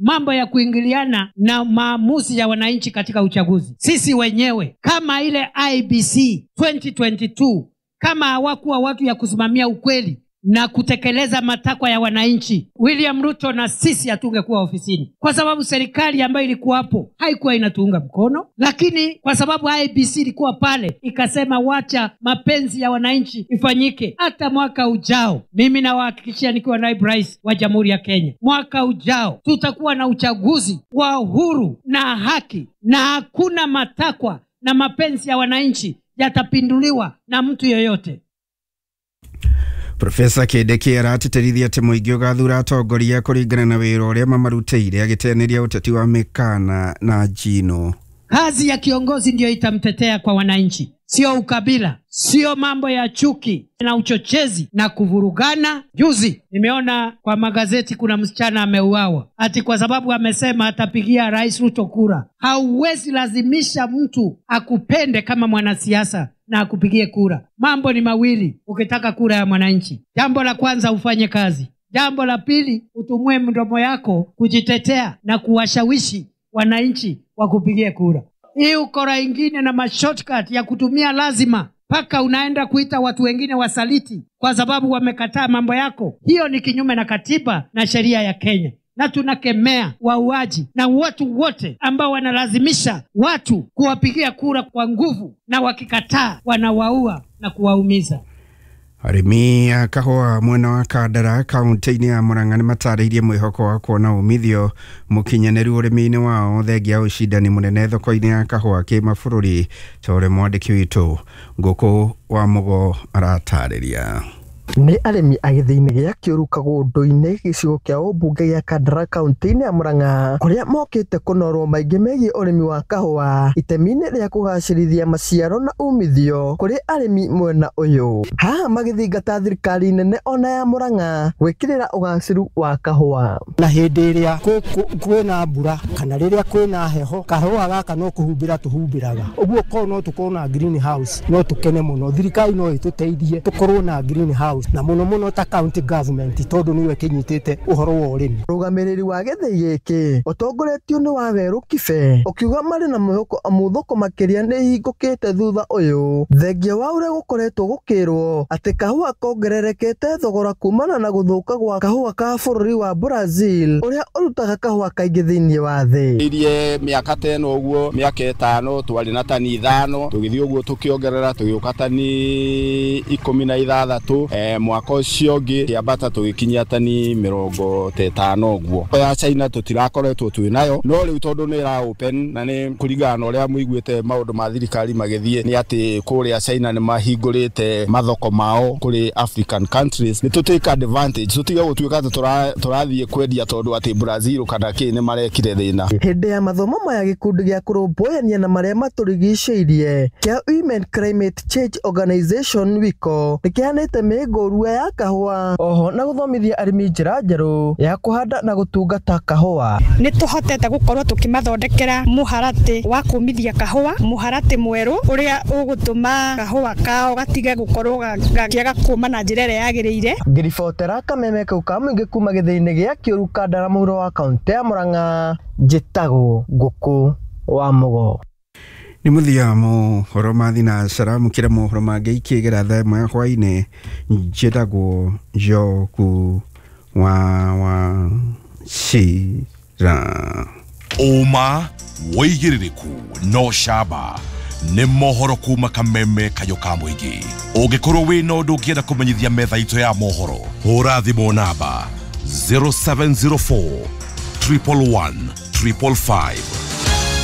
Mambo ya kuingiliana na maamuzi ya wananchi katika uchaguzi. Sisi wenyewe kama ile IEBC 2022, kama hawakuwa watu ya kusimamia ukweli na kutekeleza matakwa ya wananchi, William Ruto na sisi hatungekuwa ofisini, kwa sababu serikali ambayo ilikuwapo haikuwa inatuunga mkono. Lakini kwa sababu IEBC ilikuwa pale ikasema wacha mapenzi ya wananchi ifanyike, hata mwaka ujao, mimi nawahakikishia nikiwa naibu rais wa Jamhuri ya Kenya, mwaka ujao tutakuwa na uchaguzi wa uhuru na haki, na hakuna matakwa na mapenzi ya wananchi yatapinduliwa na mtu yeyote. Profesa Kindiki aratĩtĩrithia atĩ mũingĩ ũgathura atongoria kũringana na wĩra ũrĩa mamarutĩire, agĩteanĩria ũteti wa mĩkana na njino. Kazi ya kiongozi ndiyo itamtetea kwa wananchi, sio ukabila, sio mambo ya chuki na uchochezi na kuvurugana. Juzi nimeona kwa magazeti kuna msichana ameuawa ati kwa sababu amesema atapigia Rais Ruto kura. Hauwezi lazimisha mtu akupende kama mwanasiasa na akupigie kura. Mambo ni mawili ukitaka kura ya mwananchi. Jambo la kwanza, ufanye kazi. Jambo la pili, utumie mdomo yako kujitetea na kuwashawishi wananchi wakupigie kura. Hii ukora ingine na mashortcut ya kutumia lazima mpaka unaenda kuita watu wengine wasaliti kwa sababu wamekataa mambo yako, hiyo ni kinyume na katiba na sheria ya Kenya. Na tunakemea wauaji na watu wote ambao wanalazimisha watu kuwapigia kura kwa nguvu, na wakikataa wanawaua na kuwaumiza. Arĩmi a kahũa mwena wa Kandara kaunti-inĩ ya Murang'a nĩ matarĩirie mwĩhoko wa kuona umithio mũkinyanĩru ũrĩmi-inĩ wao thengia ya ũcindani mũnene thoko-inĩ ya kahũa kĩmabũrũri, ta ũrĩa mwandĩki witũ Ngũkũ wa Mũgo aratarĩria. Nĩ arĩmi a gĩthĩi-inĩ gĩa Kĩũru Kagũndũ-inĩ gĩcigo kĩa ũmbunge gĩa Kandara kaunti-inĩ ya Murang'a, kũrĩa mokĩte kũnorwo maingĩ megiĩ ũrĩmi wa kahũa itemi-inĩ rĩa kũgacĩrithia maciaro na umithio kũrĩ arĩmi mwena ũyũ. Haha magĩthingata thirikari nene ona ya Murang'a gwĩkĩrĩra ũgacĩru wa kahũa. Na hĩndĩ ĩrĩa kwĩna mbura kana rĩrĩa kwĩna heho, kahũa gaka no kũhumbĩra tũhumbĩraga. Ũguo korwo no tũkorwo na green house no tũkene mũno. Thirikari no ĩtũteithie tũkorwo na green house, na mũno mũno ta county government, tondũ nĩwe kĩnyitĩte ũhoro wa ũrĩmi. Mũrũgamĩrĩri wa gĩthĩi gĩkĩ ũtongoretio nĩ Wawerũ Kibe ũkiuga marĩ na mwĩhoko amu thoko makĩria nĩ ihingũkĩte thutha ũyũ, thengia wa ũrĩa gũkoretwo gũkĩrwo atĩ kahũa kongererekete thogora kumana na gũthũka gwa kahũa ka bũrũri wa Brazil ũrĩa ũrutaga kahũa kaingĩ thĩinĩ wa thĩ. Irie mĩaka ta ĩno ũguo, mĩaka 5 twarĩ na tani 5, tũgĩthiĩ ũguo tũkĩongerera tũgĩũka tani 16, mwaka ũcio ũngĩ kĩambata tũgĩkinyia tani 50 ũguo. Ya China tũtirakoretwo twĩ nayo, no rĩu tondũ nĩ ĩra open na nĩ kũringana na ũrĩa mũiguĩte maũndũ ma thirikari magĩthiĩ, nĩ atĩ kũrĩa China nĩ mahingũrĩte mathoko mao kũrĩ African countries, nĩ tũ take advantage, tũtige gũtuĩka atĩ tũrathiĩ kwendia tondũ atĩ Brazil kana kĩ nĩ marekire thĩna. Hĩndĩ ya mathomo maya gĩkundi gĩa kũrũmbũyania na marĩa matũrigicĩirie kĩa Women Climate Change Organization WICO nĩkĩheanĩte mĩngũrua ya kahũa oho na gũthomithia arĩmi njĩra njerũ ya kũhanda na gũtungata kahũa. Nĩ tũhotete gũkorwo tũkĩmathondekera mũharatĩ wa kũmithia kahũa, mũharatĩ mwerũ ũrĩa ũgũtũma kahũa kao gatige gũkorwo gakĩaga kũma na njĩra ĩrĩa yagĩrĩire. Ngĩribotera kameme kau ka mũingĩ kuma gĩthĩi-inĩ gĩa Kĩũru Kandara mũhuro wa kaũntĩ ya Murang'a, njĩtagwo Ngũkũ wa Mũgo. Nĩ mũthia mohoro ma thinacara, mũkĩra mohoro mangĩ ikĩgera thaa ĩmwe ya hwainĩ. Njĩtagwo Njoku wa Wachira. Ũma wĩigĩrĩrĩku no camba nĩ mohoro kuma kameme kayũ ka mũingĩ. Ũngĩkorwo wĩna ũndũ ũngĩenda kũmenyithia metha itũ ya mohoro, hũra thimũ namba 0704 111 555.